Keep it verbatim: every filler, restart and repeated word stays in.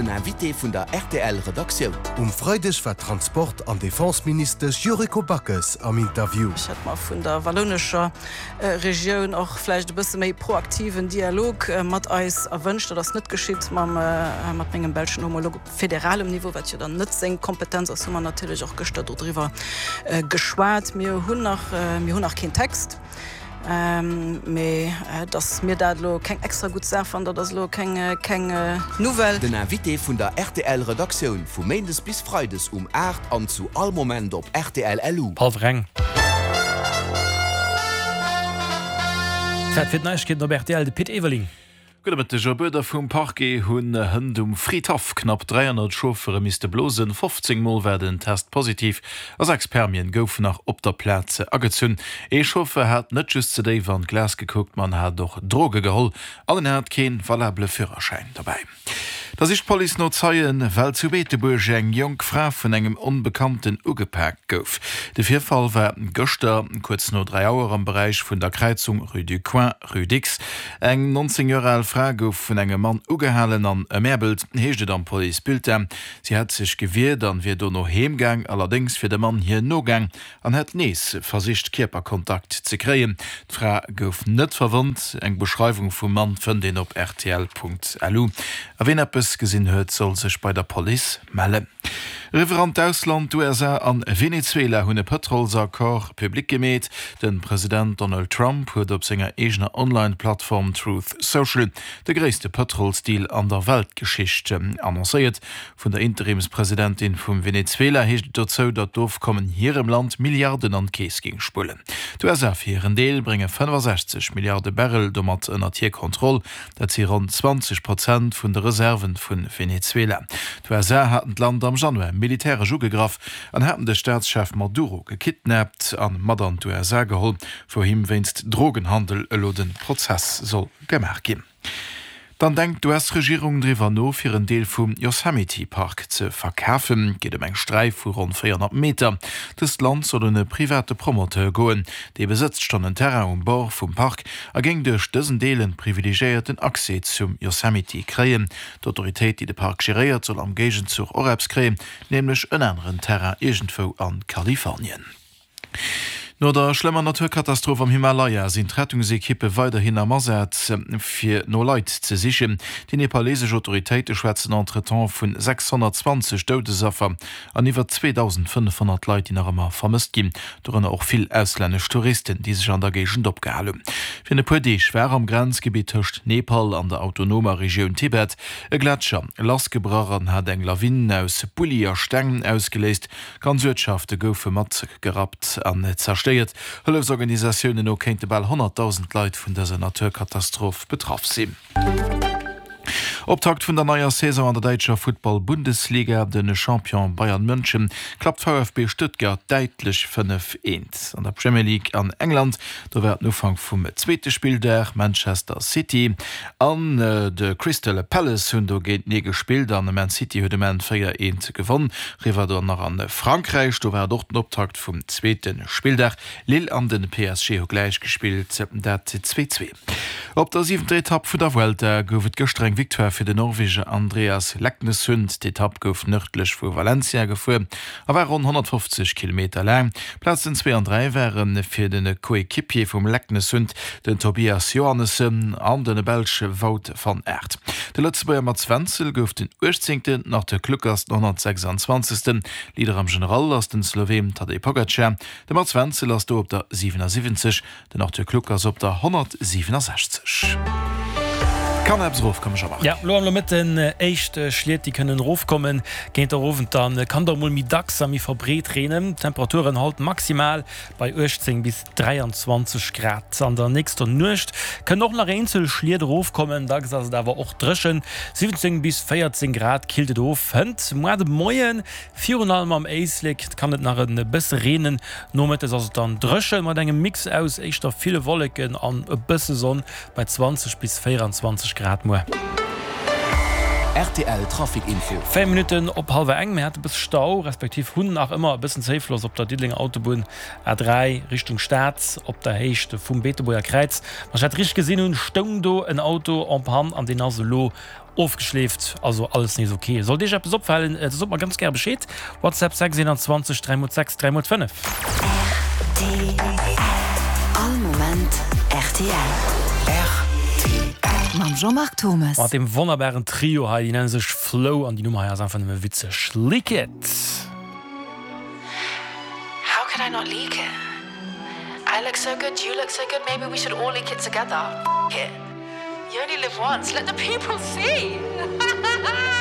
Den Invité vun der rtl Redaktioun. Um Freideg war d'Transport an Defenseministesch Yuriko Backes am Interview. Ech hätt mer vun der wallounescher Regioun och vläicht e bësse méi proaktiven Dialog mat eis erwënscht. Dat ass net geschitt. Mam mat mengem belschen Homolog op federalem Niveau, wat jo dann net seng Kompetenz ass, hu mer natierlech och gëschter dodriwwer geschwat. Mir hunn nach, mir hunn nach keen Text, mee datt mir dat elo keng extra gutt Saach fannen, dat ass elo keng, keng Nouvelle. Den Invité vun der rtl Redaktioun vu Méindes bis Freides um aacht an zu all Moment op rtl L U. Hallwer eng. Zäit fir d'Neiegkeeten op rtl, de Pit Everling. Gudde Mëtteg. Op Uerder vum Parquet hunn Hënt um Fridhaff knapp dräihonnert Chauffere misste blosen. fofzéng Mol war den Test positiv a sechs Permien goufen nach op der Plaz agezunn. Ee Chauffeur hat net just ze déif an d'Glas gekuckt, ma en hat och Droge geholl an en hat kee valabele Führerschäin dobäi. Da sicht d'Police no Zeien, well zu Beetebuerg eng jonk Fra vun engem Onbekannten ugepaakt gouf. De Virfall war gëschter kuerz no dräi Auer am Beräich vun der Kräizung Rue du Coin, Rue Dicks. Eng neunzéng Joer al Fra gouf vun engem Mann ugehalen an ëmäerbelt, heescht et am Policebulletin. Si hätt sech gewiert an wier dono heem gaang. Allerdéngs wier de Mann hir nogaang an hätt nees versicht Kierperkontakt ze kréien. D'Fra gouf net verwonnt. Eng Beschreiwung vum Mann fënnt een op rtl Punkt lu. A wien eppes gesinn huet, soll sech bei der Police mellen. Eriwwer an d'Ausland, D'U S A an Venezuela hunn e Pëtrolsaccord public gemeet. De President Donald Trump huet op senger eegener Online-Plattform Truth Social de gréisste Pëtrolsdeal an der Weltgeschicht annoncéiert. Vun der Interimspresidentin vum Venezuela heescht et dozou, datt d'Ofkommen hirem Land Milliarden an d'Keess géing spullen. D'U S A fir hiren Deel brénge fënnefasechzeg Milliarde Barrel domat ënnert hir Kontroll. Dat si ronn zwanzeg Prozent vun de Reserven vu Venezuela. D'U S A haten d'Land am Januar militäresch ugegraff an haten de Staatschef Maduro gekidnappt an mat an d'U S A geholl, wou him wéinst Drogenhandel elo de Prozess soll gemaach ginn. Dann denkt d'U S-Regierung driwwer no, fir en Deel vum Yosemite Park ze verkafen. Et geet ëm eng Sträif vu ronn véierhonnert Meter. Dëst Land soll un e private Promoteur goen. Dee besëtzt schonn en Terrain um Bord vum Park a géing duerch dësen Deel en privilegiéierten Accès zum Yosemite kréien. D'Autoritéit, déi de Park geréiert, soll am Géigenzuch och eppes kréien, nämlech en aneren Terrain iergendwou a Kalifornien. No der schlëmmer Naturkatastroph am Himalaya sinn d'Rettungsekippe weiderhin am Asaz, fir no Leit ze sichen. Déi nepalesesch Autoritéite schwätzen entretemps vun sechshonnertzwanzeg Doudesaffer an iwwer zweedausendfënnefhonnert Leit, déi nach ëmmer vermësst ginn, dorënner och vill auslännesch Touristen, déi sech an der Géigend opgehal hunn. Virun e puer Deeg war am Grenzgebitt tëscht Nepal an der autonomer Regioun Tibet e Gletscher lassgebrach an hat eng Lawin aus Bulli a Steng ausgeléist. Ganz Uertschafte goufe matgerappt an zerstéiert. Hëllefsorganisatiounen no kéinte bal honnertdausend Leit vun dëser Naturkatastroph betraff sinn. Optakt vun der neier Saison an der däitscher Futtball-Bundesliga, De Champion Bayern München klappt V F B Stuttgart däitlech fënnef, eent. An der Premier League an England, do war et den Ufank vum zweete Spilldag, Manchester City an de Crystal Palace hunn do géintenee gespillt an Man City huet um Enn véier, eent gewonn. Eriwwer dann nach an Frankräich, do war et och den Optakt vum zweete Spilldag, Lille an de P S G hu gläich gespillt, dat zwee, zwee. Op der siwenter Etapp vun der Vuelta gouf et gëschter eng Victoire fir den Norweger Andreas Leknessund. D'Etapp gouf nërdlech vu Valencia gefuer a war ronn honnertfofzeg Kilometer laang. Plazen zwee an dräi ware fir de Coéquipier vum Leknessund, den Tobias Johannessen an de Belsch Wout van Aert. De Lëtzebuerger Mats Wenzel gouf den uechtzéngten, den Arthur Kluckers den honnertsechsanzwanzegsten. Leader am General ass den Sloween Tadej Pogacar. De Mats Wenzel ass do op der siwenasiwwenzeg, den Arthur Kluckers op der honnertsiwenasechzeg. Kann eppes erofkommen, Jean-Marc? Jo, lo am Nomëtten éischt Schliet, déi kënnen erofkommen. Géint der Owend dann kann et och mol méi dacks a méi verbreet reenen. D'Temperaturen haut maximal bei uechtzéng bis dräianzwanzeg Grad. An der nächster Nuecht kënnen och nach eenzel Schliet erofkommen, dacks ass et awer och dréchen. Siwwenzéng bis véierzéng Grad killt et of. Hënt muar de Moien, virun allem am Éislek, kann et nach e bësse reenen. Nomëttes ass et dann dréchen mat engem Mix aus éischter ville Wolleken an e bësse Sonn bei zwanzeg bis véieranzwanzeg Grad muer. R T L Trafic Info. Véier Minutten op hallwer eng. Mir hate bësse Stau, respektiv hunn nach ëmmer e bëssen Zéifloss op der Diddelenger Autobunn A dräi Richtung Stad op der Héicht vum Beetebuerger Kräiz. Wann ech dat richteg gesinn hunn, stoung do en Auto en panne an deen ass elo Ofgeschleeft, also alles nees ok. Sollt iech eppes opfalen, da sot mer ganz gär Bescheed. WhatsApp sechs einundzwanzeg dräi mol sechs dräi mol fënnef. Rtl, All Moment rtl. Rtl. Mam Jean-Marc Thommes. Mat deem wonnerbaren Trio hei, déi nenne sech Flow an déi Nummer hei ass einfach nëmme witzeg. Leak It! How could I not leak it? I look so good, you look so good, maybe we should all leak it together. F it. You only live once, let the people see!